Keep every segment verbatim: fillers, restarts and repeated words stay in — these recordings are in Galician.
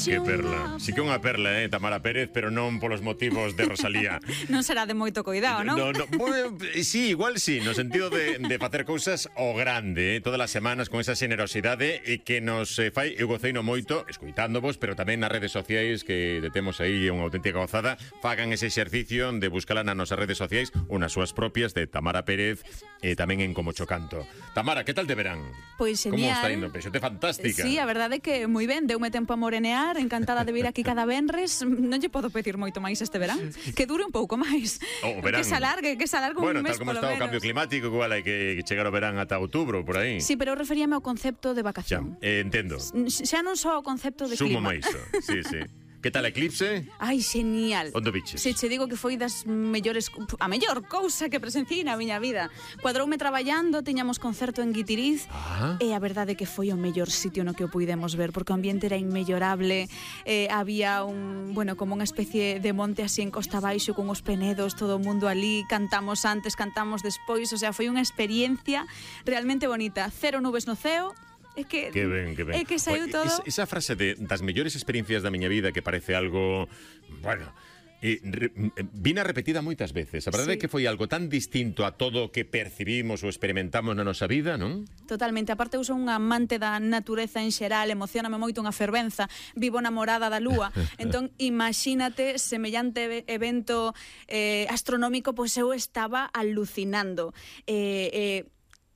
Que perla. Si que unha perla, eh, Tamara Pérez, pero non polos motivos de Rosalía. Non será de moito cuidado, non? No, no, bueno, sí, igual sí, no sentido de, de facer cousas o grande, eh, todas as semanas con esa xenerosidade e que nos eh, fai, eu goceino moito, escoitándovos, pero tamén nas redes sociais que detemos aí unha auténtica gozada, fagan ese exercicio de buscala nas nosas redes sociais, unas súas propias de Tamara Pérez e tamén en Como Chocanto. Tamara, que tal te verán? Pois Como genial. está indo? Peixote fantástica. Sí, a verdade é que moi ben, deume tempo a morenear, encantada de vir aquí cada venres. Non lle podo pedir moito máis este verán, que dure un pouco máis. O verán. Que se alargue, que se alargue bueno, un mes tal como polo está o menos. cambio climático, igual hai que chegar ao verán ata outubro, por aí. Sí, pero eu referíame ao concepto de Xa, vacación. eh, entendo. Xa non só o concepto de Sumo clima. máis, sí, sí. Que tal Eclipse? Ai, genial. Onde biches? Se che digo que foi das mellores, a mellor cousa que presenciei na miña vida. Cuadroume traballando, tiñamos concerto en Guitiriz, Ah. e a verdade é que foi o mellor sitio no que o puidemos ver, porque o ambiente era inmellorable, eh, había un, bueno, como unha especie de monte así en costa baixo con os penedos, todo o mundo ali, cantamos antes, cantamos despois, o sea, foi unha experiencia realmente bonita. Cero nubes no ceo. É que, Que ben, que ben. é que saiu Oye, todo. Esa, esa frase de das mellores experiencias da miña vida que parece algo, bueno, e re, vina repetida moitas veces. A verdade é Sí. que foi algo tan distinto a todo o que percibimos ou experimentamos na nosa vida, non? Totalmente, aparte eu son unha amante da natureza en xeral, emocioname moito unha fervenza, vivo namorada da lúa, entón imagínate semellante evento eh, astronómico, pois eu estaba alucinando. Eh, eh,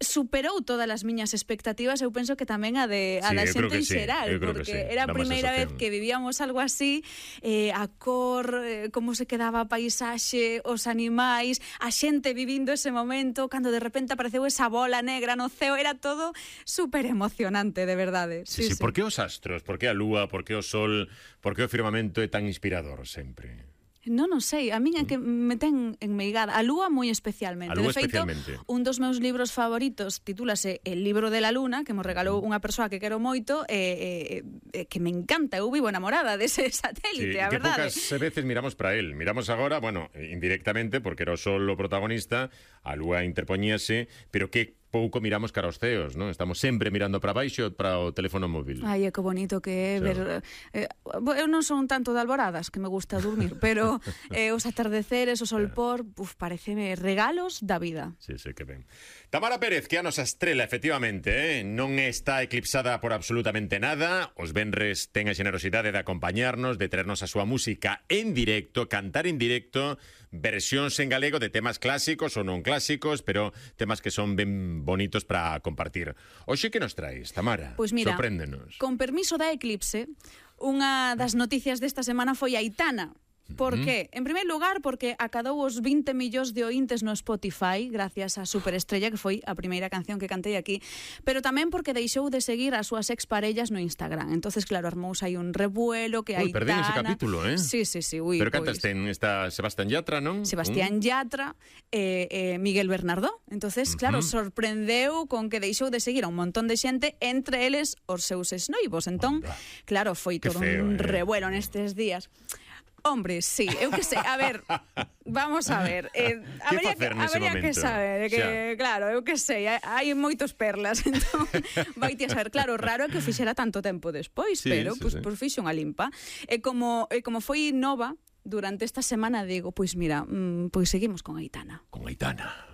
superou todas as miñas expectativas, eu penso que tamén a de a Sí, da eu creo xente que en sí, xeral, eu creo que porque sí, era a dá má primeira vez sensación. que vivíamos algo así, eh, a cor, eh, como se quedaba a paisaxe, os animais, a xente vivindo ese momento, cando de repente apareceu esa bola negra no ceo, era todo super emocionante, de verdade. Sí, sí, sí. Por que os astros? Por que a lúa? Por que o sol? Por que o firmamento é tan inspirador sempre? Non, non sei, a min é que me ten enmeigada. A lúa moi especialmente. A lúa de feito, especialmente. un dos meus libros favoritos titúlase El libro de la luna, que me regalou unha persoa que quero moito, e eh, eh, que me encanta. Eu vivo enamorada dese satélite, Sí, a que verdade. poucas veces miramos para él. Miramos agora, bueno, indirectamente, porque era o sol o protagonista, a lúa interpoñíase, pero que pouco miramos cara aos ceos, non? Estamos sempre mirando para baixo para o teléfono móvil. Ai, é que bonito que é Sí. ver... Eh, eu non son tanto de alboradas, que me gusta dormir, pero eh, os atardeceres, o solpor, uf, pareceme regalos da vida. Sí, sí, que ben. Tamara Pérez, que é a nosa estrela, efectivamente, eh? non está eclipsada por absolutamente nada. Os venres ten a generosidade de acompañarnos, de traernos a súa música en directo, cantar en directo, versións en galego de temas clásicos ou non clásicos, pero temas que son ben bonitos para compartir. Oxe, que nos traes, Tamara? Pois mira, sorpréndenos. con permiso da Eclipse, unha das noticias desta semana foi Aitana. Por qué? En primeiro lugar, porque acadou os vinte millóns de oíntes no Spotify gracias a Superestrella, que foi a primeira canción que cantei aquí, pero tamén porque deixou de seguir as súas exparellas no Instagram. Entonces, claro, armouse aí un revuelo que Ui, Aitana... perdín ese capítulo, eh? Sí, sí, sí. Ui, Pero cantas pois. ten esta Sebastián Yatra, non? Sebastián Yatra e eh, eh, Miguel Bernardo. Entonces, claro, Ujú. sorprendeu con que deixou de seguir a un montón de xente, entre eles os seus exnoivos. Entón, Onda. claro, foi Que todo feo, un eh? revuelo nestes días. Hombre, sí, eu que sei, a ver, vamos a ver, eh, habría, que, facer nese habría que momento? saber, que, Xa. claro, eu que sei, hai, hai moitos perlas, entón, vai ti a saber, claro, raro é que o fixera tanto tempo despois, Sí, pero, sí, pois, sí. pues, fixe unha limpa, e como, e como foi nova, durante esta semana digo, pois mira, mm, pois seguimos con Aitana. Con Aitana.